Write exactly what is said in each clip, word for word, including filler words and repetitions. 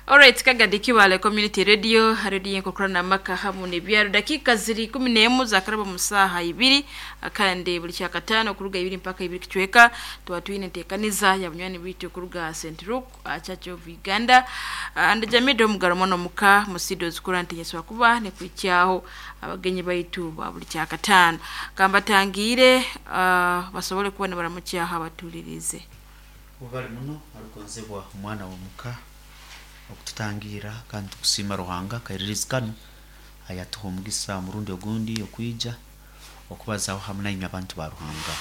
Alright, Kagadi Kibaale Community Radio, radio enkokurana amaka hamu n'ebyaro. Dakiika ziri kumi n'emu zakaraba mu saaha ibiri, kandi buli kyakataano okuruga ibiri mpaka ibiri kicweka tuba twine enteekaniza ya bunywani bwitu okuruga Saint Luke uh, Church of Uganda. uh, and Jamido Omugaro mwana omuka musido zikura ntinyeswa kuba nekwikyaho abagenyi baitu ba buli kyakataano. Kambatangiire uh, basobole kuba nibaramukyaho abatulirize. Ubali muno arugonzebwa omwana w'omuka okututangira, kandi tukusiima Ruhanga kairirizi kanu ayatuha omugisa murundi ogundi okwija okubazaho hamu nainywe abantu ba Ruhanga.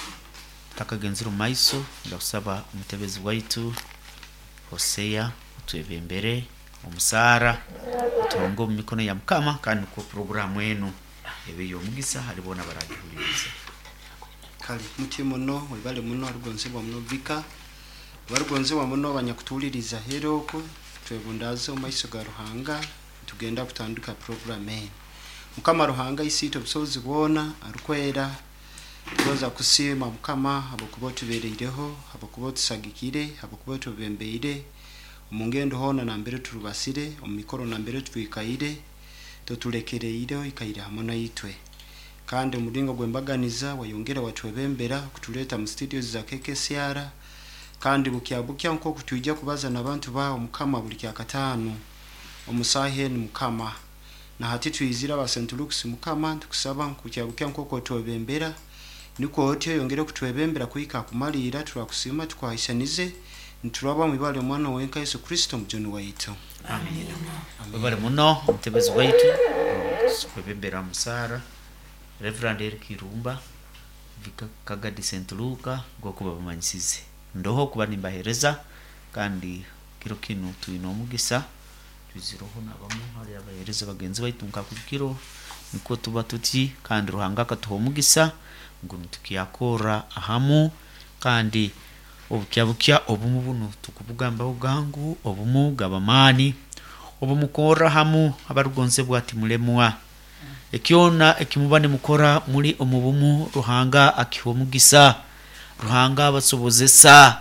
Tutakagenzire omu maiso, ndakusaba omutebezi waitu Hosea otwebembere omusaara otuhonge omu mikono ya Mukama, kandi nukwo puroguramu enu ebe y'omugisa hali boona baragihuliriza. Kale mutye muno, webale muno arugonzebwa muno vika barugonzebwa muno abanyakutuuliriza hera okwo. Twebundaaze omu maiso ga Ruhanga, tugenda kutandika puroguramu enu. Mukama Ruhanga isiitwe obusobozi bwona arukwera, tugonza kusiima Mukama habwokuba otubereireho, habwokuba otusagikire, habwokuba otwebembeire omu ngendo hoona nambere turubasire, omu mikoro nambere twikaire, totulekereire, oikaire hamu naitwe. Kandi omulingo gw'embaganiza wayongera watwebembera kutuleeta mu studios za K K C R. Kandi bukya bukya nk'oku twija kubaza n'abantu bawe Mukama buli kyakataano omu saaha enu Mukama, na hati twizire aba Saint Luke's Mukama, ntukusaba bukya bukya nk'oku otwebembera nikwo otyo oyongere kutwebembera kuhika kumaliira. Turakusiima, tukwahisanize, nituraba mu ibara ly'omwana wenka Yesu Kristo omujuni waitu. Amina. Webale muno omutebezi waitu kwebembera musaara. Reverend Eric Irumba Vika Kagadi Saint Luka, ngokuba bamanyisize ndoho kuba nimbahereza, kandi kiro kinu twine omugisa twizireho nabamu hali abahereza bagenzi baitu nka kiro nikwo tuba tuti, kandi Ruhanga akatuha omugisa ngu nitukyakorra ahamu. Kandi obukya bukya obumu bunu tukubugambaho gangu, obumu gaba maani, obumukorra hamu abarugonzebwa timulemwa. Ekyona ekimuba nimukora muri omu bumu, Ruhanga akiha omugisa, Ruhanga abasobozesa,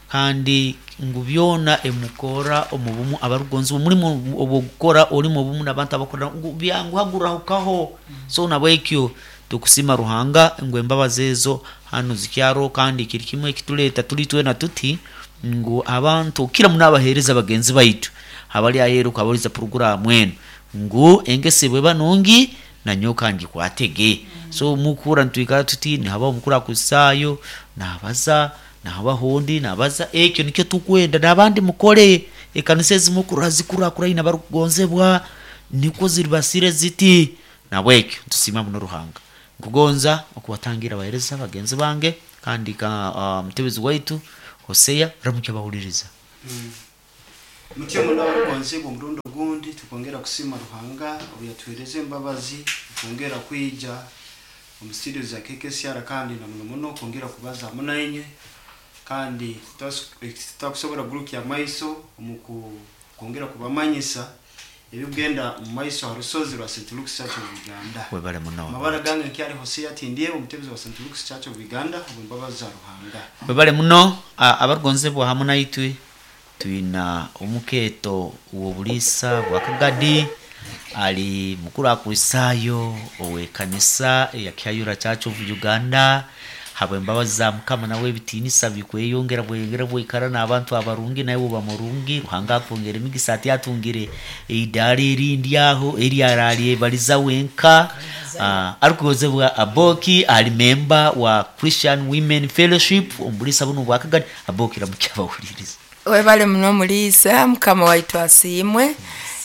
kandi ngu byona emukora omu bumu abarugonzebwa. Omulimu obwogukora ori mu bumu n'abantu abakora ngu byanguha gurahukaho. So nabwekyo tukusima Ruhanga ngu embabazi ezo hanu zikyaro. Kandi kiri kimwe ekituleeta tuli twena tuti ngu abantu kira muno abaheereza bagenzi baitu abali aheeru okabahuriza puroguramu enu ngu engeso bweba nungi nanyowe ngikwatege. So mukura nitwikara tuti nihabaho omukuru akusaayo nabaza, nahabaho ondi nabaza, ekyo nikyo tukwenda n'abandi mukole. Ekanisa ezimu kurora zikurakurana barukugonzebwa nikwo ziribasire ziti. Nabwekyo ntusiima muno Ruhanga. Nkugonza okubatangira abahereza bagenzi bange, kandi ka uh, mutebezi waitu Hosea ramukya bahuliriza. Mutyo muno abarugonzebwa, omurundi ogundi tukongera kusiima Ruhanga obu yatuhereza embabazi okwongera kwija omu studio za K K C R, kandi na muno muno kwongera kubaza hamu nainywe. Kandi tutakusobora kugurukya amaiso omu kwongera kubamanyisa ebikugenda mu maiso ha rusozi rwa Saint Luke's Church of Uganda. Webale muno. Amabara gange nkyali Hosea Tindyebo, omutebezi wa Saint Luke's Church of Uganda, obwembabazi za Ruhanga. Webale muno abarugonzebwa. Hamu naitwe twina omukeeto w'obuliisa bwa Kagadi, ali mukuru akwisaayo ow'ekanisa eya Kihayura Church of Uganda. Habw'embabazi za Mukama nawe ebitiinisa bikweyongera bweyongera bwaikara n'abantu abarungi, nawe oba murungi, Ruhanga akwongera emigisa. Ati atungire eidaara erindi aho eri aralyebaliza wenka. uh, arikugonzebwa Aboki ali memba wa Christian Women Fellowship omubuliisa buno bwa Kagadi. Aboki, ramukya abahuliriza. Webale muno muliisa, Mukama waitu asiimwe.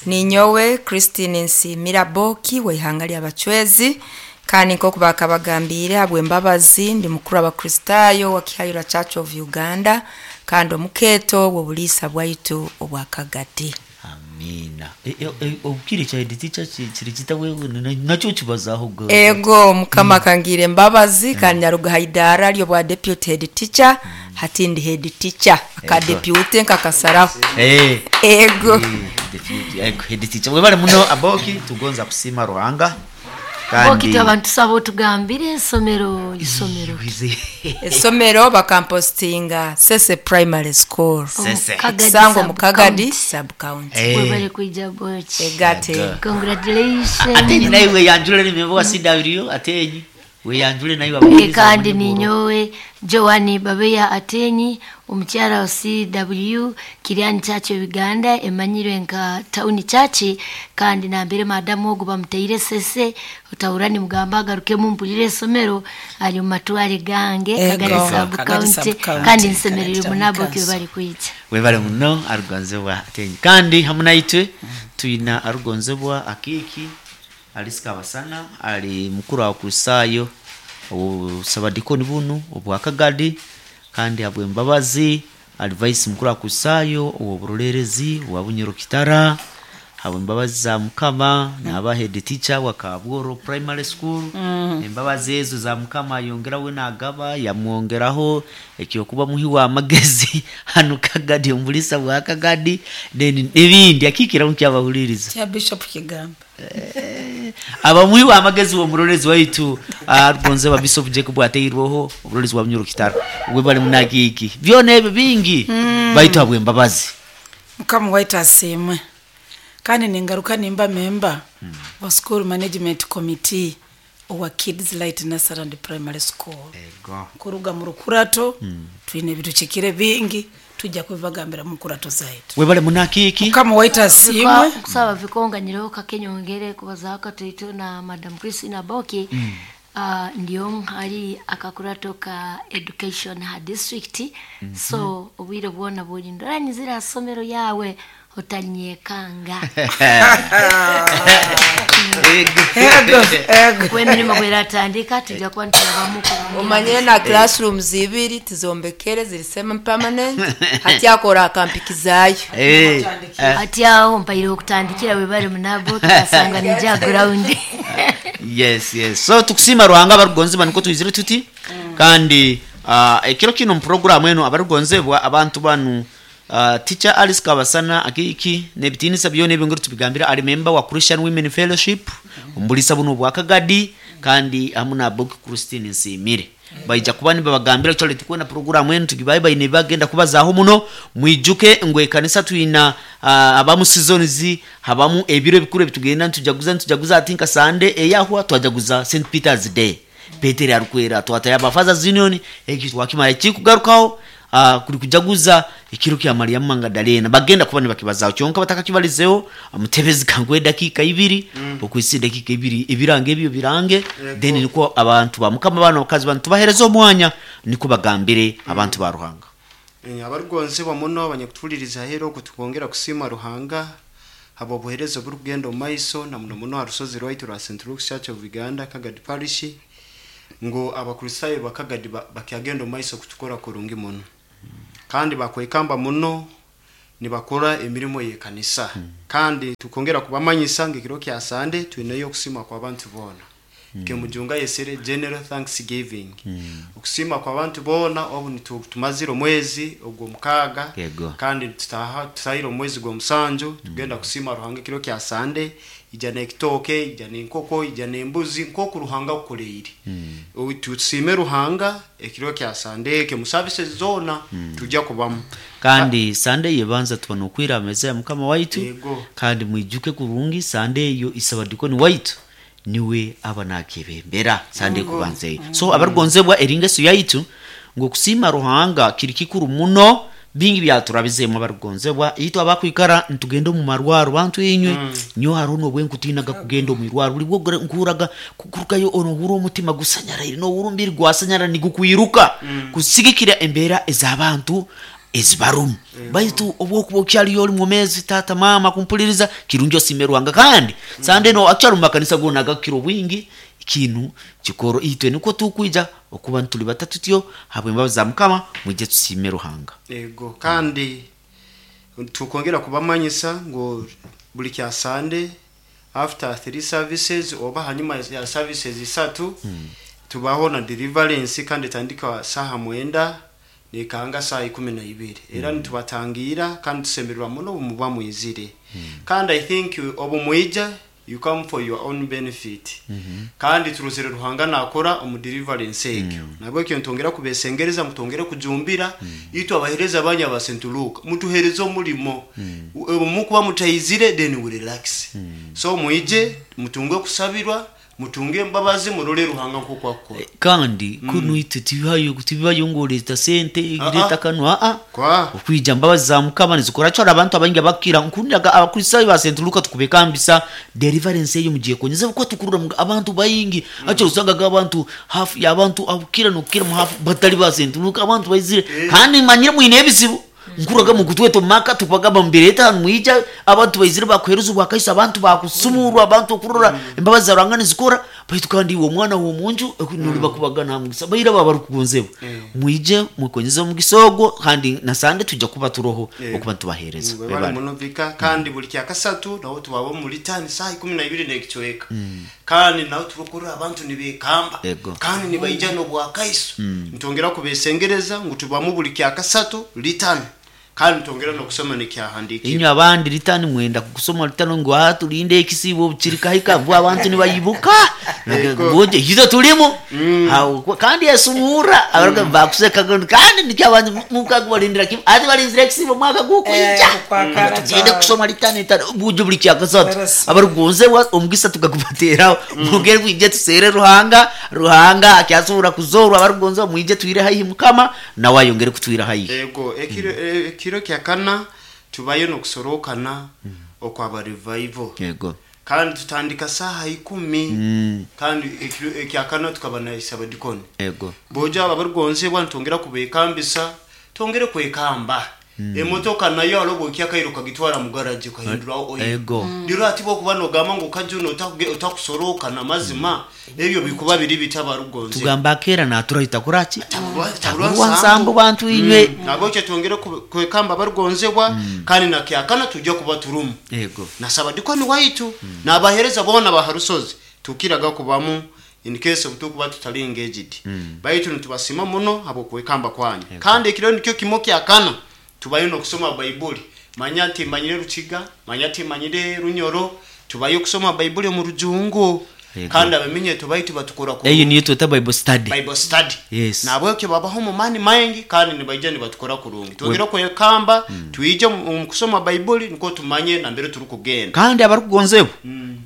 Ninyowe Christine Nsiimira Boki w'ihanga ly'Abacwezi, kandi nk'oku bakabagambiire, habw'embabazi ndi mukuru Abakristaayo wa Kihayura Church of Uganda, kandi omukeeto w'obuliisa bwaitu obwa Kagadi. Amina. Obukiri kya head teacher kiri kita wewe nakyo kibazaho gwe? Ego, Mukama akangiire embabazi kandi nyaruga ha idaara ly'obwa deputy head teacher, hati ndi head teacher, aka Ego. deputy nkakasaraho. Eh. Ego. Eh, deputy, ego, head teacher. Webale muno Aboki, tugonza kusiima Ruhanga. Kandi Boki abantu tusaba otugambire esomero isomero Esomero bakampostinga Sese Primary School. Sese. Kagadi Sango mu sub Kagadi county. sub county. Eh. Webale kuija Boki. Egate. Ego. Congratulations. Atenyi naye weyanjule nimemba wa C W, atenyi weyanjule naye Eh, wabawuliriza kandi bamanye bworo. ninyowe Joani Babeya Atenyi, omukyala wa C W Kiriani Church of Uganda, emanyirwe nka Town Church, kandi nambere madamu ogu bamuteire Sese otahura mugamba agarukemu mpulire esomero ari mu matware gange. Ego, Kagari sub Kagari county. sub-county, Kandi nsemerere Kagari town munabo council. bari kwija. Webale muno arugonzebwa atenyi, kandi hamwe naitwe tuyina arugonzebwa Akiki Alice Kabasana, ali mukuru wa Kristayo obusabadikoni bunu obwa Kagadi, kandi habwe embabazi ali vice mukuru wa Kristayo obwoburolerezi obwa Bunyoro Kitara. Habwe embabazi za Mukama naba head teacher wa Kabworo Primary School. Embabazi ezo za Mukama ayongerawe nagaba yamwongeraho ekyokuba muhi wa amagezi hano Kagadi, omulisa bwa Kagadi, then n'ebindi akikira mukyabahuliriza. Kya Bishop Kigamba. Abamuhi wa amagezi w'omurorezi waitu arugonze wa Bishop Jacob ateirweho omurorezi wa Bunyoro Kitara. Webale munakiki byona ebyo bingi baitu habwe embabazi. Mukama waitu asiimwe, kandi ningaruka nimba memba wa school management committee owa Kids Light Nursery and Primary School. Ego. Kuruga mu rukurato twine ebituchikire bingi, tujja kubibagambira mu nkurato zaitu. Webale munakiki. Mukama waitu asiimwe. Kusaba vikonganyireho kakenyongere kubazaho katoito na Madam Christina Boki. mm. Uh, ndio hari akakurato ka education ha district. mm -hmm. So obwire bwona buli ndoranyizira somero yawe otanyekanga. Ego, ego. Wemirimo bweratandika tujja kuba ntulabamuku. Omanyire na classrooms ibiri tizombekere, ziri semi permanent, hati akora akampikizayo. Eh, eh, Ati aho mpaire okutandikira, webale munabo, tukasanga nija ground. yes yes so tukusima Ruhanga abarugonzebwa, niko twizire tuti. Kandi uh, ekiro kino mu eno abarugonzebwa abantu banu, uh, teacher Alice Kabasana Akiki nebitinisa byona ebyo ngeri tubigambira, ali member wa Christian Women Fellowship ombulisa buno bwa Kagadi, kandi hamu na Boki Christine Nsimire baija kuba nibabagambira. Kyole tukwena programu enu tugibaye baine bagenda kubazaho muno. Mwijuke ngu ekanisa twina uh, abamu seasons, habamu ebiro ebikuru ebitugenda nitujaguza nitujaguza Ati nka Sunday eyahwa twajaguza Saint Peter's Day, Peteri arukwera, twataya aba Fathers Union eki twakimara ekikugarukaho uh, kuri kujaguza ekiro kya Mariamu Magdalena. Bagenda kuba nibakibazaho, kyonka batakakibalizeho amutebezi kangwe dakika ibiri mm. Okwisi dakika ibiri ebirange ebyo birange, then niko abantu ba Mukama bano bakazi bantu bahereza omwanya niko bagambire abantu ba Ruhanga. Eh, abarugonzebwa muno abanyakutuliriza hero kutwongera kusima Ruhanga habo obuhereza burugendo omu maiso, na muno muno ha rusozi rwaitu rwa Saint Luke's Church of Uganda Kagadi Parish, ngu Abakristayo bakagadi ba- bakyagenda omu maiso kutukora kurungi muno, kandi bakwekamba muno nibakora emirimo y'ekanisa. Kandi tukongera kubamanyisa ngu ekiro kya Sande twineyo okusima kw'abantu boona, kemujunga yesere general thanksgiving, okusima kw'abantu boona obu nitu- tumazire omwezi ogwo mukaaga. Yego. Kandi tutaha tutahire omwezi gw'omusanju, tugenda kusima Ruhanga ekiro kya Sande. Ija n'ekitooke, ija n'enkoko, ija n'embuzi, nk'oku Ruhanga akukoleire. Obu tusime Ruhanga ekiro kya Sande eke mu services zoona tujja kubamu. Kandi Sande yebanza tuba nokwira ameza ya Mukama waitu. Yego. Kandi mwijuke kurungi Sande eyo isabadikoni waitu niwe aba nakebembera Sande kubanza eyo. So abarugonzebwa, eringeso yaitu ngu okusima Ruhanga kiri kikuru muno, bingi byaturabizemu abarugonzebwa. Itwe abakwikara ntugenda omu marwaro, bantu inywe nyo hariho nobwenkutinaga kugenda omu irwaro, buli bwo nkuraga kurugayo onohura omutima gusanyaraire, nohura omubiri gwasanyara nigukwiruka kusigikira embeera ez'abantu ezibarumu. Baitu obwokuba okyaliyo oli mwomezi, tata mama kumpuliriza, kirungi osime Ruhanga. Kandi Sande no akyali mu makanisa gona agakukira obwingi kintu kikoro, itwe niko tukwija okuba ntuli batatu tutyo habwe embabazi za Mukama, mwije tusime Ruhanga. Ego, kandi tukongera kubamanyisa ngu buli kya Sande after three services oba hanyuma ya services isatu tubaho na deliverance, kandi etandika saha mwenda nekanga saa ikumi na ibiri. Era nitubatangira kandi tusemererwa muno obu muba mwizire. Kandi I think obu mwija You come for your own benefit. Kandi turuzire Ruhanga nakora omu deliverance ekyo. Nabwekyo ntongera kubesengereza, mutongere kujumbira itwe abahereza banya ba Saint Luke, mutuhereze omulimo. Mukuba mutayizire, then we relax. So mwije mutunge kusabirwa, mutunge embabazi, murole Ruhanga nkuko akora. Kandi kuno itwe tibibayo tibibayo ngo leta sente Ah, leta ah. kano a a Kwa okwija mbabazi za Mukama nizikora cyo. Abantu abangi abakira nkundaga Abakristayo ba Saint Luka tukubekambisa deliverance eyo mugiye konyeza kuko tukurura mu- abantu bayingi acho usangaga abantu hafi y'abantu abukira nokira mu hafi batali ba Saint Luka. Abantu bayizire kandi manyire mwine ebizibu nkuraga mu kutweto maka tupagamba mbireta mwija abantu bayizire bakweruza bwakaisa, abantu bakusumurwa, abantu okurora embabazi za Ruhanga nizikora. Baitu kandi uwo mwana wo munju nuri bakubagana mugisa bayira baba barukugonzebwa. Mwije mukonyeza omugisa ogwo, kandi na sande tujja kuba turoho Eh. okuba ntubahereza. Webale Webale. muno vika. Kandi buli kyakasatu naho tubaba muri tani saa ikumi na ibiri n'ekicweka, kandi naho turukurura abantu nibekamba Ego. kandi nibaija n'obwakaiso. Ntongera kubesengereza ngu tubamu buli kyakasatu litani, kandi ntongera n'okusoma nekyahandikirwe. Inywe abandi litani mwenda kusoma litano ngo atulinde ekisibo kirikahika bwa abantu nibayibuka. Ego. Ngoje hizo tulimu. Hao, kwa- kandi yasumura abaruka bakuseka kandi nikyo abantu mukagubalindira kim ati balinzira ekisibo mwaka gukwija. Eh, kukwakara Tugende kwawe. kusoma litani itano bujo buli kyakasatu. Barasoma. Abarugonze omugisa tukagubateraho mugere kwije tusere Ruhanga. Ruhanga akyasobora kuzorwa. Abarugonze mwije twire haihi Mukama nawe ayongere kutwira haihi. Ego, ekiro eh, ekiro kyakana tubayo n'okusorokana okwaba revival, Yego. kandi tutandika saha ikumi. Kandi ekiro ekyakana tukaba na isabadikoni. Yego. Boja aba barugonzebwa ntongera kubekambisa, tongere kwekamba. Emotoka nayo alobo kyakairo kagitwara mu garage ukahindura oil. Ego. Rero ati bo kuba nogamba ngo kajuno utakusoroka na mazima ebyo bikuba biri bitabarugonze. Tugamba kera naturahita kuraki Taburwa nsambu bantu inywe. Nabo kyo twongere ku- kwekamba barugonzebwa, kandi na kyakana tujya kuba turumu Yego. nasaba dikoni waitu nabahereza bona baharusozi tukiraga kubamu in case of tukuba tutali engaged. Baitu nitubasima muno abo kwekamba kwanyu. Kandi ekiro nikyo kimo kyakana tubayo nokusoma Baibuli. Manya nti manyire Rukiga, manya nti manyire Runyoro, tubayo kusoma Baibuli mu Rujungu. Yego. Kandi abamenye tubaitu batukora ku Eyo niyo tweta Bible study. Bible study. Yes. Nabwekyo babaho mu mani maingi kandi nibaija nibatukora kurungi. Twongera kwekamba twije mu mu kusoma Baibuli niko tumanye na mbere turi kugenda. Kandi abarukugonzebwa,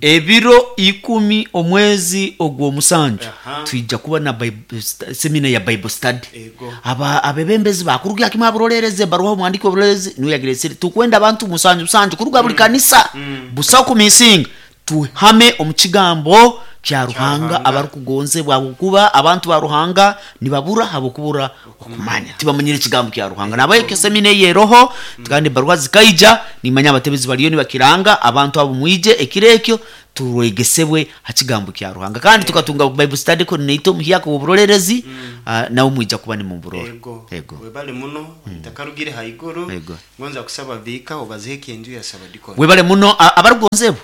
ebiro ikumi omwezi ogw'omusanju Aha. twija kuba na Bible stu- semina ya Bible study. Ego. Aba abebembezi bakuruga kimwe abarorereze baruha omwandiki w'oburorerezi niwe yagiresire tukwenda abantu musanju musanju kuruga buli kanisa busa kumisinga tuhame omu kigambo kya Ruhanga. Ruhanga. Abarukugonzebwa, kuba abantu ba Ruhanga nibabura habokubura okumanya, tibamanyire ekigambo kya Ruhanga. Nabayo semina eyeroho kandi baruha zikaija nimanya abatebezi baliyo nibakiranga abantu abo mwije ekiro ekyo turwegesebwe ha kigambo kya Ruhanga, kandi tukatunga Bible study coordinator omuhyaka w'oburorerezi, ah, nawe mwija kuba nimuburora. Ego. Ego. Webale muno takarugire haiguru. Ego. Ngonza kusaba vika obazeke enju ya sabadikoni. Webale muno. a- abarugonzebwa,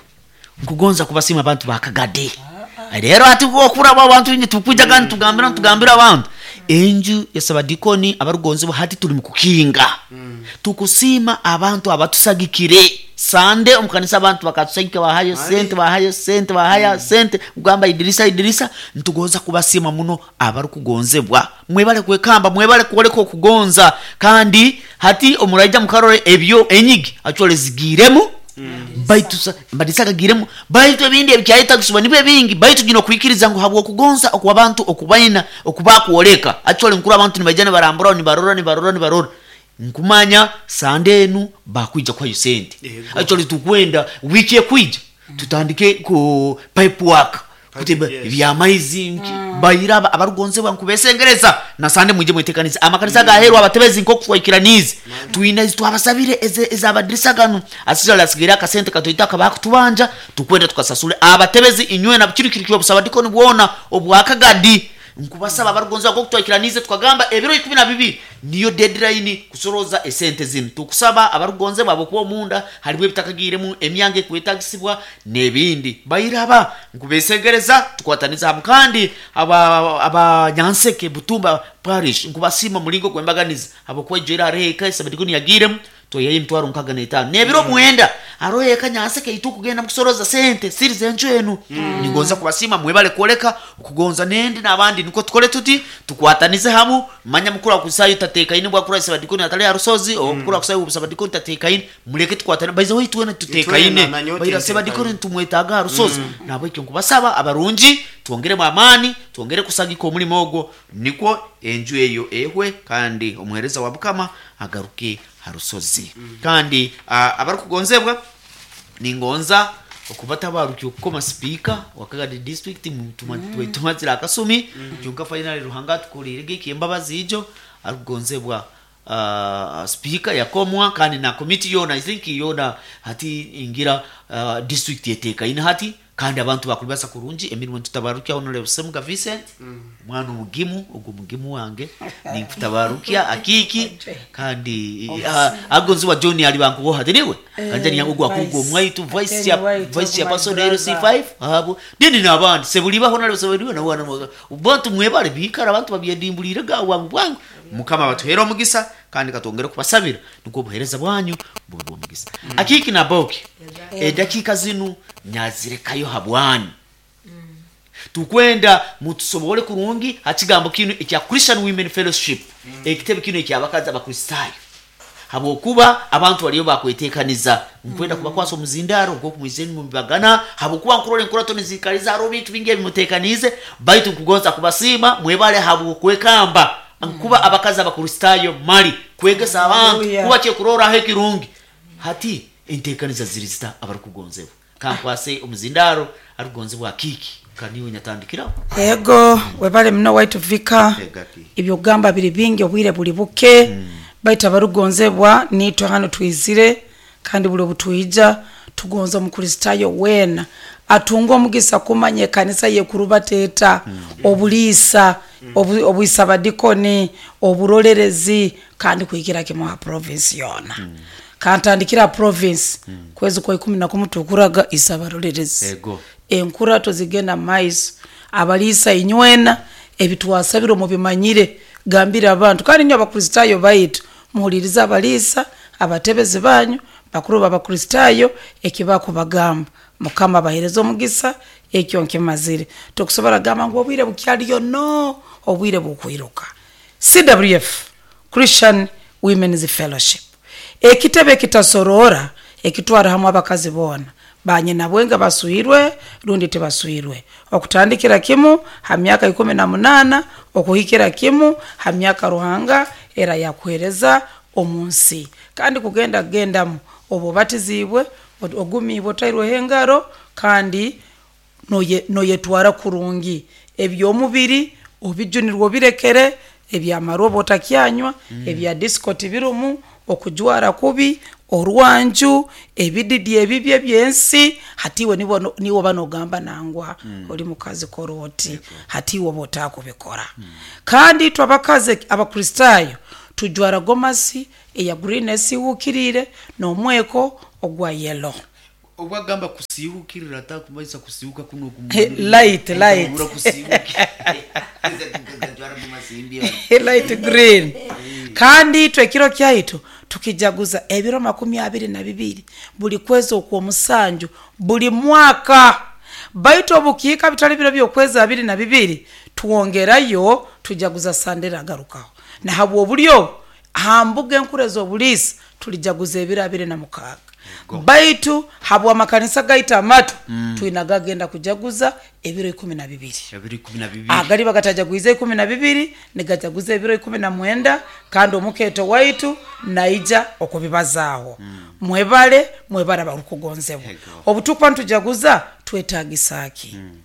nkugonza kubasima abantu bakagade. Rero ati okuraba abantu inye tukuja kandi tugambira tugambira abantu enju ya sabadikoni. Abarugonzebwa, hati tuli mukukinga tukusima abantu abatusagikire sande omukanisa. Abantu bakatusagika bahayo sente, bahayo sente, bahaya sente kugamba idirisa idirisa. Ntugonza kubasima muno abarukugonzebwa. Mwebale kwekamba, mwebale kuoleka okugonza. Kandi hati omuraija mukarore ebyo enyigi achole zigiremu baitu sa- amadisa gagiremu, baitu ebindi ebikyayeta kusuba nibyo ebingi. Baitu gino kwikiriza ngu habwo okugonza okwabantu okubaina okubakuoleka achole nkuru abantu nibaija nibarambura nibarora nibarora nibarora nkumanya sande enu bakwija kwayo sente. Yego. Achole tukwenda wiki ekwija tutandike ku pipe work kutemba yes. ebyamaizi nki bayira aba- abarugonzebwa nkubesengereza na sande mwije mwetekanize amakanisa gaherwa abatebezi nk'okutwikiranize twine ezi twabasabire eze- ezabadirisa gano asizala asigaire akasente katoita akabakutubanja tukwenda tukasasule abatebezi inywe na kiri kiri kyobusabadikoni bwona obwakagadi. Nkubasaba abarugonzebwa nk'okutwikiranize tukagamba ebiro ikumi na bibiri niyo deadline kusoroza esente zinu. Tukusaba abarugonzebwa abokuba omunda harimu ebitakagiremu emyanga ekwetagisibwa n'ebindi bayiraba nkubesegereza tukwataniza hamu. Kandi aba abanyanseke Butumba parish nkubasima mulingo gwembaganiza abokuba ijera areka esabadikoni yagiremu toyayo emitwaro nkaga n'etaano n'ebiro mwenda. Aroho ekanyase kaitu kugenda mukusoroza sente siri zenju enu. Ningonza kubasima mwebale kuoleka okugonza nendi n'abandi niko tukole tuti tukwatanize hamu. Manya mukuru akusayo tatekaine bwakura sabadikoni atali arusozi o mukuru akusayo sabadikoni tatekaine muleke tukwatane baize hoyi tuwena tutekaine na nyote baira ntekaine. sabadikoni tumwetaga arusozi. Nabo ekyo nkubasaba abarungi twongere mu amaani, twongere kusagika omulimo ogwo nikwo enju eyo ehwe kandi omuhereza wa Bukama agaruke harusozi. Kandi ah, abarukugonzebwa ningonza okubatabarukya okukoma sipiika wa Kagadi district tumazire akasumi kyonka finally Ruhanga atukurire giki embabazi ijo arukugonzebwa uh, speaker yakomwa kandi na committee yona I think yona hati ingira uh, district yetekaine hati kandi abantu bakulibasa kurungi emirimu tutabarukya Honorable Semuga Vincent mwana omugimu ogwo mugimu wange ninkutabarukya akiki kandi uh, agonziwa John ali bankuboha tiniwe kanja ni ogwo akugwo Vice. mwaitu vice Ateni ya waitu, vice ya my person L C brother. five abo dini n'abandi sebulibaho nalyo sebuliba na wana bantu mwebale bikara abantu babyedimbulire gawa bwangu Mukama batuhera omugisa kandi katwongere kubasabira niko obuhereza bwanyu bube bw'omugisa. Akiki na boki edakika zinu nyazirekayo habwanyu tukwenda mutusobole kurungi hakigambo kinu ekya Christian Women Fellowship ekitebe kinu ekyabakazi abakristayo habwokuba abantu baliyo bakwetekaniza nkwenda kubakwasa omuzindaro nk'okumwizeni mubibagana habwokuba nkurora enkurato nizikaliza hariho bintu bingi ebimutekanize baitu nkugonza kubasiima mwebale habwokwekamba nkuba abakazi abakristayo mali kwegesa abantu Hallelujah. kuba kyekuroraho ekirungi hati entekaniza ziri zita abarukugonzebwa kankwase omuzindaro arukugonzebwa akiki kaniwe nyatandikiraho. Ego webale muno waitu vika. Egaki. Ebyogamba biri bingi obwire buli buke. Baitu abarugonzebwa nitwe hano twizire kandi buli obutwija tugonza omukristayo weena atunga omugisa kumanya ekanisa yekurubateeta obuliisa obu- obwisabadikoni oburolerezi kandi kuhikira kimu ha province yoona. Kantandikira province kwezi kwa ikumi na kumu tukuraga isabarolerezi. Ego. Enkurato zigenda mumaiso abaliisa inywena ebitwasabire mubimanyire gambire abantu kandi inywe abakristayo baitu muhulirize abaliisa abatebezi banyu bakuru babakristayo ekibakubagamba Mukama abahereze omugisa. Ekyo nkimazire tokusobora gamba ngu obwire bukyaliyo no obwire bukwiruka. C W F Christian Women's Fellowship ekitebe ekitasorora ekitwara hamwe abakazi boona banyina bwenga basuirwe rundi tibasuirwe okutandikira kimu ha myaka ikumi na munana okuhikira kimu ha myaka Ruhanga era yakuhereza omunsi kandi kugenda gendamu obu batizibwe ogumibwe otairweho engaro kandi noye noyetwara kurungi ebyomubiri obijunirwe obirekere ebyamarwa otakyanywa mm. ebya disco tibirumu okujwara kubi orwanju ebididi ebibye byensi hatiwe nibo niwo banogamba nangwa mm. oli mukazi koroti hatiwe botakubikora mm. kandi twabakaze abakristayo tujwara gomasi eya green esiwukirire nomweko ogwa yellow. Obwagamba kusiihukirira atakumaisa kusiihuka kuno Light, light. Light green. Kandi itwe ekiro kyaitu tukijaguza ebiro makumi abiri na bibiri buli kwezi okwomusanju buli mwaka baitu obukiika bitali biro byokwezi abiri na bibiri tuwongerayo tujaguza sandera agarukaho nahabwa obulyo hambuga enkura ez'obuliisa tulijaguza ebiro abiri na mukaaga baitu habwa amakanisa gaita amatu mm. twina gagenda kujaguza ebiro ikumi na bibiri agali bagatajaguiza ikumi na bibiri nigajaguza ebiro ikumi na mwenda kandi omuketo waitu naija okubibazaaho mm. mwebale mwebale abarukugonzebwa obutukuba nitujaguza twetagisaki mm.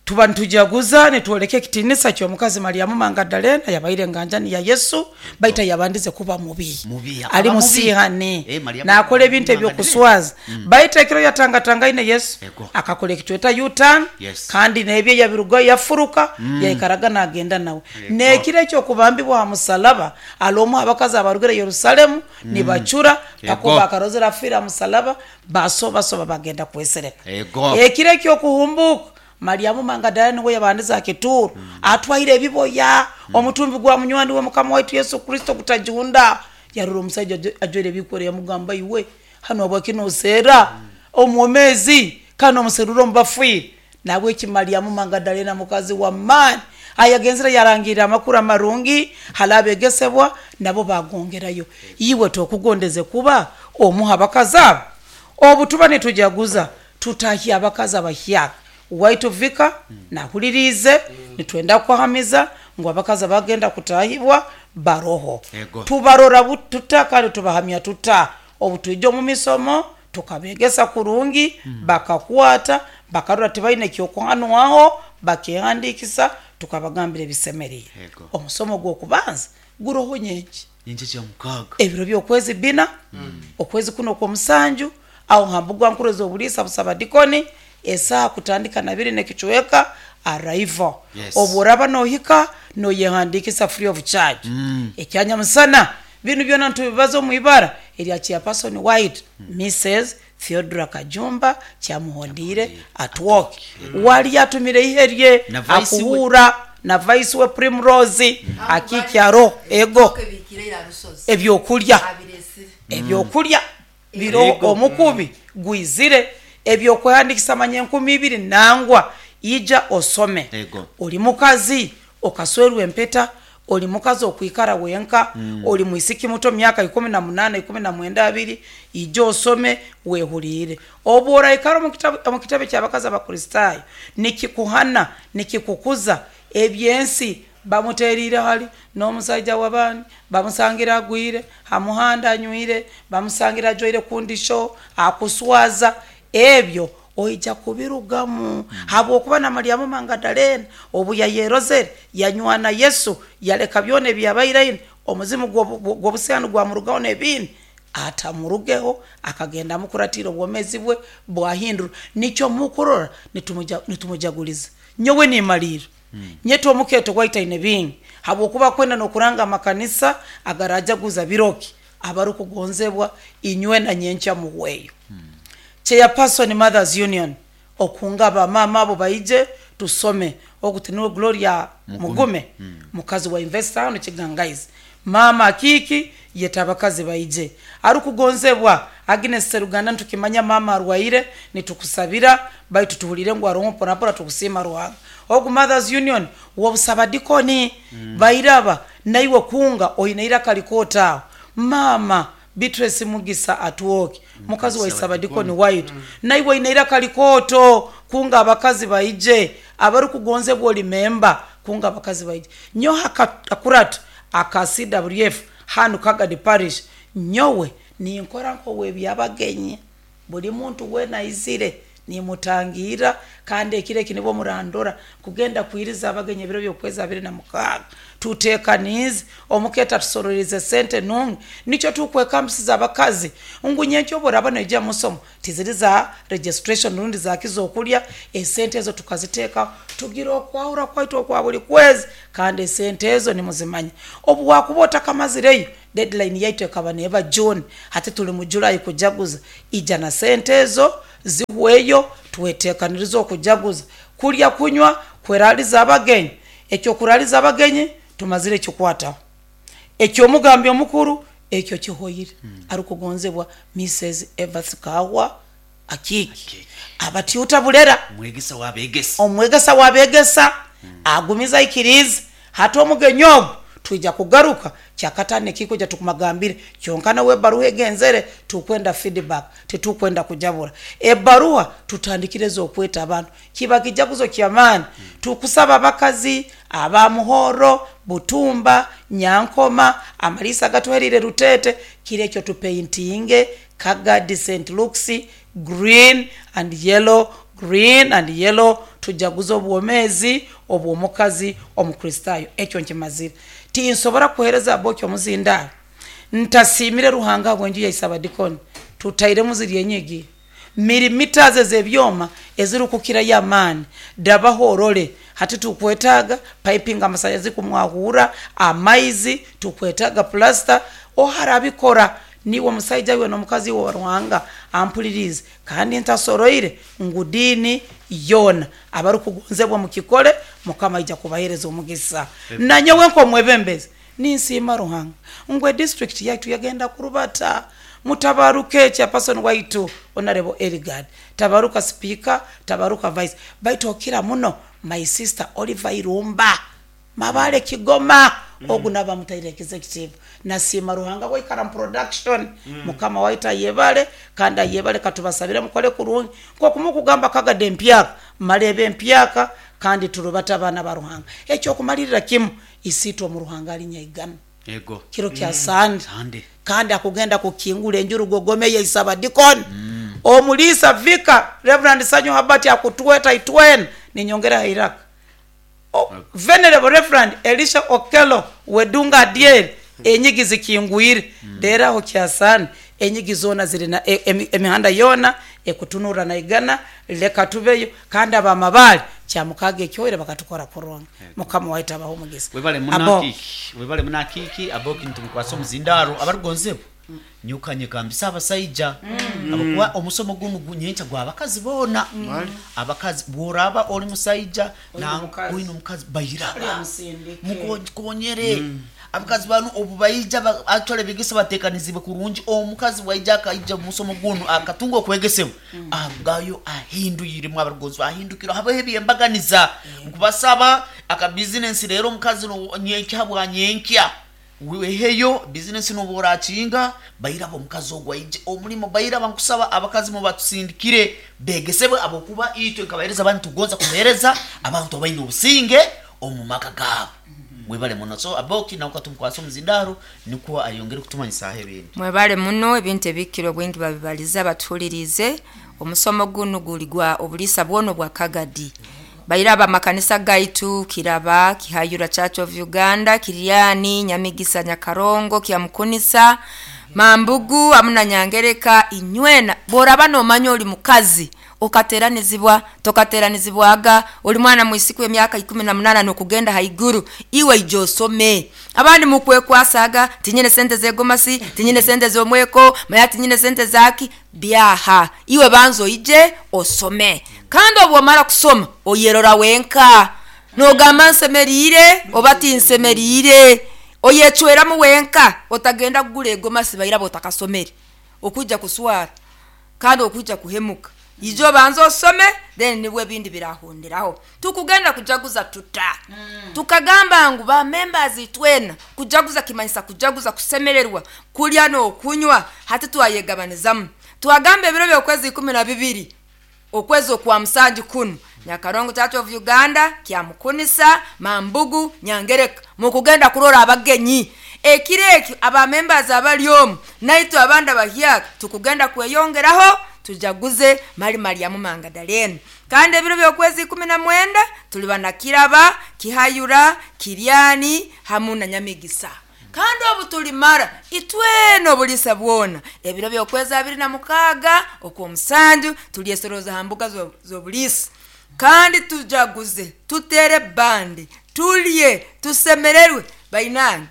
tuba nitujaguza nitwoleka ekitinisa ky'omukazi Mariamu Magdalena yabaire nganjani ya Yesu baita yabandize kuba mubi Mubi, ali akaba mubi. musihani Eh, Mariamu nakola ebintu Magdalena. ebyokuswaza mm. baita ekiro yatangatangaine Yesu Ego. akakola ekitweta U-turn Yes. kandi nebye yabiruga yafuruka mm. yaikaraga nagenda nawe nekiro ekyokubambibwa ha musalaba alomu abakazi abarugire Yerusalemu mm. nibacura pakuba akarozera afira ha musalaba basobasoba bagenda kwesereka Ego. ekiro ekyokuhumbuka Mariamu Magdalena niwe yabandiza akituru mm. atwaire ebiboya mm. omutumbi gwa munywani we Mukama waitu Yesu Kristo kutajunda yarura omusajja ajwaire ebikwere yamugamba iwe Hano obwakinoseera omwomezi kandi omuserura omubafiire. Nabweki Mariamu Magadalena mukazi wa maani ayagenzera yarangirira amakuru amarungi halabegesebwa nabo bagongerayo. Iwe tokugondeze kuba omuha abakazi abo. Obu tuba nitujaguza tutahya abakazi abahyaka waitu vika nahulirize mm. Nitwenda kuhamiza ngu abakazi bagenda kutahibwa baroho. Ego. Tubarora tuta kandi tubahamya tuta. Obu tuija omu misomo tukabegesa kurungi mm. Bakakwata bakarora tibaine kyokuhanwaho bakehandikisa tukabagambira ebisemerire. Omusomo gw'okubanza guroho nyenki nyenki kya mukaga ebiro by'okwezi bina mm. Okwezi kuno kw'omusanju aho hambugwa nkuroza obulisa busaba dikoni esaa kutandika na biri nekichweka arrival. Yes. Oboraba nohika noyehandikisa free of charge. mm. Ekyanya musana binu byona ntubibaza omuibara erya chairperson White mm. Missus Theodora Kajumba kyamuhondire atwoke mm. Wali yatumire iherye akuhura na vice we Primrose mm. Akikyaro ego ebyokulya ebyokulya biro omukubi gwizire ebyokuhandikisa manye nkumi ibiri nangwa ija osome. Ego. Oli mukazi okaswerwa empeta, oli mukazi okwikara wenka mm. Oli mwisiki muto myaka ikumi na munana ikumi na mwenda abiri ija osome wehulire. Obora ikara mu kitabu ky'abakazi abakristayo nikikuhana nikikukuza ebyensi bamuterire hali n'omusajja w'abandi bamusangira agwire hamuhanda anywire bamusangira ajoire kundisho akuswaza ebyo oija kubirugamu. mm. Habwokuba na Mariamu Magadalena obu yayerozere yanywana Yesu yaleka byona ebyabaire omuzimu gw'obusihani gwamurugaho n'ebindi atamurugeho akagenda mukuratira obwomezi bwe bwahindura. Nikyo mukurora nitumujaguliza nyowe nimalira mm. Nyeto omuketo gwaitaine bingi habwokuba kwenda nokuranga amakanisa agarajaguza biroki abarukugonzebwa inywe na nyencha muhweyo. mm. Chairperson Mothers Union okunga abamama abo baije tusome okutiniwe Gloria Mugume, Mugume. Mm. Mukazi wa investor hano Kigangaizi mama akiki yetabakazi baije arukugonzebwa Agnes Seruganda ntukimanya mama arwaire nitukusabira baitu tuhulire ngu arongo pora pora tukusima Ruhanga. Ogu Mothers Union wobusaba dikoni mm. Bairaba naiwe kunga oinaira kalikota mama Beatrice Mugisa atuoki mukazi wa isabadikoni White mm. Naiwe inaira kalikoto kunga abakazi baije abarukugonzebwa oli memba kunga abakazi baije nyo akuratu aka C W F hanu Kagadi Parish nyowe ninkora nkowe byabagenye buli muntu wena izire nimutangira kandi ekire kinibo murandora kugenda kuiriza abagenye biro byokweza abiri na mukaga tutekanize omuketa tusororeze sente nungi nicho tukwekambisiza abakazi ngu nyencho boraba neja musomo tiziriza registration rundi zakizo okulya esente ezo tukaziteka tugira okwahura kwaito kwa buli kwezi kandi esente ezo nimuzimanya obu wakubota kamazireyo deadline yaitu ekaba neba June hati tuli mu July kujaguza ija na sente ezo zihweyo twetekaniriza okujaguza kulya kunywa kweraliza abagenyi ekyo kuraliza abagenyi tumazire kikwata ekyo omugambi omukuru ekyo kihoyire hmm. Arukugonzebwa Missus Evans Kawa akiki abatiuta bulera mwegesa wabegesa omwegesa wabegesa hmm. Agumiza ikiriza hata omugenyi ogwo tuija kugaruka kyakatane kiko ja tukumagambire kyonkana we baruha egenzere tukwenda feedback tetukwenda kujabura ebaruha tutandikireza okweta abantu kiba kijaguzo kyamani mm. Tukusaba abakazi abamuhoro Butumba Nyankoma amalisa gatuherire Rutete kile ekyo tupaintinge Kagadi Saint Luke's green and yellow green and yellow tujaguzo obwomezi obwomukazi omukristayo ekyo nkimazire tinsobora kuhereza abokyo muzinda ntasimire Ruhanga bwenju yaisaba dikoni tutaire muziri enyigi milimita zebyoma ezirukukira ya mani dabahorole hati tukwetaga piping amasanyazi kumwahura amaizi tukwetaga plaster oharabikora niwe musaija we nomukazi wa Ruhanga ampulirize kandi ntasoroire ngudini yona abarukugonzebwa mukikole mukama ija kubahereza omugisa na nyowe nko mwebembezi ninsima Ruhanga ngwe district yaitu yagenda kurubata Mutabaruke chairperson waitu Honorable Eligard, tabaruka speaker, tabaruka vice. Baitu okira muno my sister Oliver Irumba Mabale Kigoma mm. Ogu naba mutaire executive nasima Ruhanga waikara production mm. Mukama waita yebale kanda yebale katubasabire mukole kurungi kwa kumukugamba kagade empyaka malebe empyaka kandi turubata abana ba Ruhanga ekyo kumalirira kimu isitwa mu Ruhanga alinya igana ego kiro kya mm. Sande Sande kandi akugenda kukingula enjuru gogome ya isaba deacon mm. Omulisa Vika Reverend Sanyo Habati akutweta itwen ninyongera Iraq. O, Venerable Reverend Elisha Okelo wedunga diel enyigi zikingwire mm. Dera ho kyasani enyigi zona ziri na e, e, emihanda yona ekutunura na igana leka tubeyo kandi abamabali kyamukage kyoire bakatukora kuronga mukama waita abaho mugisa webale munaki webale munakiki aboki ntumkwasa omuzindaro abarugonzebo nyukanye kambisa abasajja mm. Abakuwa omusomo guno gunyencha gwa abakazi bona mm. Abakazi bworaba oli musajja na oyino mukazi bayiraba mukonyere mm. Abakazi banu obubayija actually bigisa batekanizibwe kurungi omukazi waija akaija musomo guno akatunga okwegesebwa mm. Agayo ahinduyire mu abarugonzi ahindukira habe ebyembaganiza mm. Nkubasaba aka business rero omukazi no nyenkya bwa nyenkya weheyo business no borakinga bayirabo omukazi ogwaije omulimo bayiraba nkusaba abakazi mu batusindikire begesebwe abokuba itwe nkabahereza abantu tugonza kuhereza abantu abayina obusinge omumaka gabo mwebale muno so aboki na ukatumkwasa omuzindaro nikuwa ayongere kutumanyisa ahe ebintu mwebale muno ebintu ebikiro bwingi babibaliza batulirize omusomo guno guli gwa obulisa bwono bwa Kagadi bayiraba makanisa gaitu Kiraba Kihayura Church of Uganda Kiriani Nyamigisa Nyakarongo Kiamukunisa Mambugu amuna Nyangereka inywena boraba no manyo oli mukazi okateranizibwa tokateranizibwaga oli mwana mwisiku emyaka ikumi na munana nokugenda haiguru iwe ijosome abandi mukwekwasaga tinyine sente zegomasi tinyine sente zomweko maya tinyine sente zaki byaha iwe banzo ije osome kandi obwomara kusoma oyerora wenka nogamba nsemerire oba tinsemerire oyechweramu wenka otagenda kugula egomasi bayirabo otakasomere okujja kuswara kandi okujja kuhemuka ijo banzo osome then nibwe bindi birahonderaho tukugenda kujaguza tuta mm. Tukagamba ngu ba members itwena kujaguza kimanyisa kujaguza kusemererwa kulya no kunywa hati twayegabanizamu twagamba ebiro byokwezi ikumi na bibiri okwezi okwa musanju kunu Nyakarongo Church of Uganda Kiamukunisa Mambugu Nyangereka mukugenda kurora abagenyi ekireki aba members abali omu naitu abanda bahyaka tukugenda kweyongeraho tujaguze mali Mariamu Mangadalene kandi ebiro byokwezi ikumi na mwenda tuliba na Kiraba Kihayura Kiriani hamu na Nyamigisa kandi obu tulimara itweno bulisa bwona ebiro byokwezi abiri na mukaga okwomusanju tulyesoroza hambuga z'obulisa kandi tujaguze tutere bandi tulye tusemererwe bainange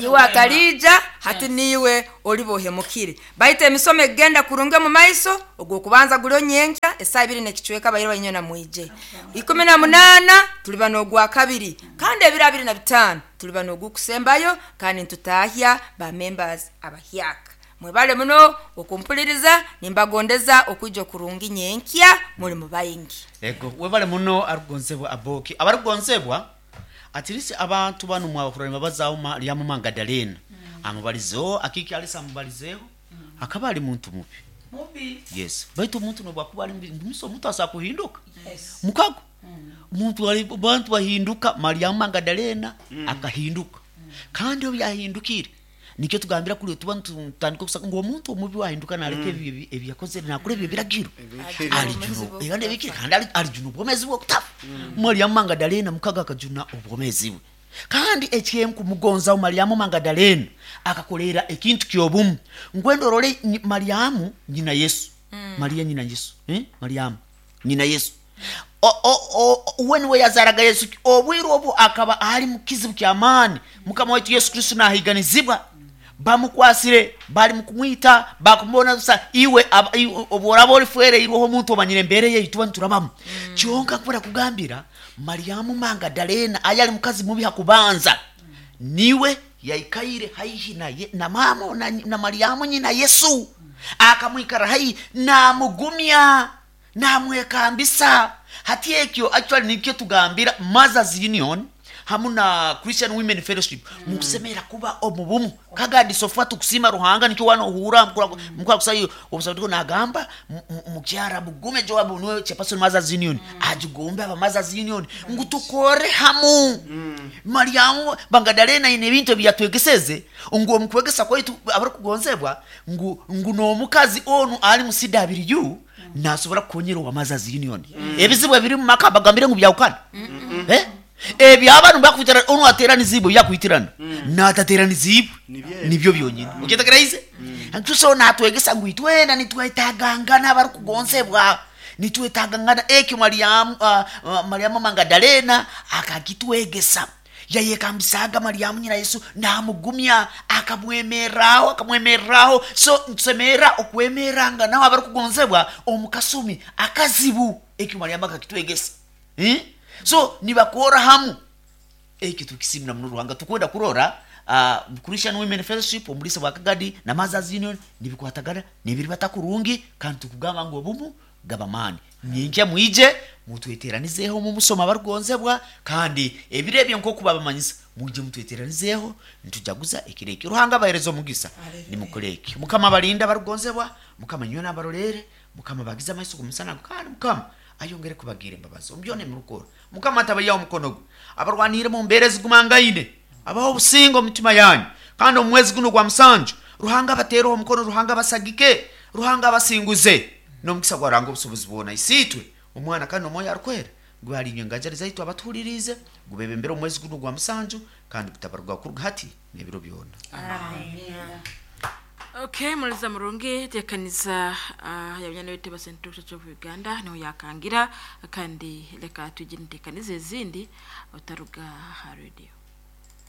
iwe akalija hati niwe olibohemukire baita emisomo egenda kurunge mu maiso ogwo kubanza gulio nyenkya esaa ibiri nekichweka bayiro bainyona mwije ikumi na munana tuliba n'ogwa kabiri kandi ebiro abiri na bitano tuliba n'ogukusembayo kandi ntutahya ba members abahyaka mwebale muno okumpuliriza nimbagondeza okujja kurungi nyenkya muli mu bayingi ego webale muno arugonzebwa aboki abarugonzebwa atirisi abantu bano mwabakurana bazawo Mariamu Mangadalena mm. Amubalizeho akiki alisa amubalizeho mm. Akaba ali muntu mubi mubi yes baitu omuntu nobwakuba ali mubi omuntu asa kuhinduka yes. Mukago mm. Omuntu ali bantu bahinduka Mariamu Mangadalena mm. Akahinduka mm. Kandi obu yahindukire nikyo tugambira kuli tuba tutandika kusaka ngo omuntu omubi wahinduka naleka mm. ebi ebyakoze nakule ebyo biragiro alijuna era nebikiri kandi alijuna obwomezi bwe okutafa mm. Mariamu Mangadalena mukaga akajuna obwomezi bwe kandi ekyenku mugonza Mariamu Mangadalena akakolera ekintu kyobumu ngwendo role Mariamu nyina Yesu mm. Maria nyina Yesu eh Mariamu nyina Yesu o o o we yazaraga Yesu obwiru obu akaba ali mukizibu kyamani mukama wetu Yesu Kristo nahiganizibwa bamukwasire bali mukumwita bakumubona sa iwe oboraba olifwere iroho omuntu omanyire embere ye ituba nturabamu mm. Kyonka kubera kugambira Mariamu Mangadalena ayali mukazi mubi hakubanza mm. Niwe Yaikaire haihi na, ye, na mama na, na Mariamu nyina Yesu akamwikara haihi namugumya namwekambisa. Hati ekyo actually nikyo tugambira Mothers Union hamu na Christian Women Fellowship mm. Mukusemera kuba omubumu kagadi sofa tukusima Ruhanga nikyo wano uhura mukura kusayo obusabudiko nagamba mukyara bugume Joab niwe chairperson Mothers Union mm. Ajugombe aba Mothers Union right. Ngu tukore hamu mm. Mariamu Bangadalena ine bintu byatwegeseze ngu omukwegesa kwaitu abarukugonzebwa ngu ngu nomukazi onu ali mu C W mm. Nasobora kukonyera wa Mothers Union mm. Ebizibu ebiri mu maka bagambire ngu byawukana mm -mm. Eh ebi abantu bakwitirana onu ateranizibu yakwitirana mm. Natateranizibu nibyo byonyine mm. Ukitakiraize mm. Ntuso natwegesa ngu itwena nitwetagangana abarukugonsebwa nitwetagangana ekyo Mariamu uh, uh, Mariamu Magdalena akakitwegesa yayekambisaga Mariamu nyina Yesu namugumya akamwemerraho akamwemerraho. So ntusemera okwemeranga nawe abarukugonsebwa omukasumi akazibu ekyo Mariamu akakitwegesa eh? So nibakora hamu ekyo tukisimira muno Ruhanga tukwenda kurora uh, Christian Women Fellowship omulisa bwa Kagadi na Mothers Union nibikwatagana nibiri batakurungi kandi tukugamba ngu obumu gabamani nyinkya mwije mutweteranizeho mu musoma barugonzebwa kandi ebire ebyo nko kubabamanyisa muje mutweteranizeho ntujaguza ekireki Ruhanga baherezo omugisa nimukoleki Mukama balinda barugonzebwa Mukama nyona barolere Mukama bagiza amaiso kumusana kandi Mukama ayongere kubagira imbabazi ombyone murukoro Mukama atabayaho omukono gwe abarwanire mu mbere zigumangaine abaho obusingo omutima yanyu kandi omwezi guno gwa musanju Ruhanga batereho omukono Ruhanga basagike Ruhanga abasinguze nomukisa gwa Ruhanga obusobozi bwona isitwe omwana kandi omwoyo arukwera gwali nyangajari zaitu abatuhulirize gubebembera omwezi guno gwa musanju kandi gutabarwa kuruga hati n'ebiro byona. Amen. Okay, muliza murungi tekaniza uh, yabanyana wetu ba Central Church of Uganda niho yakangira kandi leka tujye ntekanize ezindi otaruga ha radio.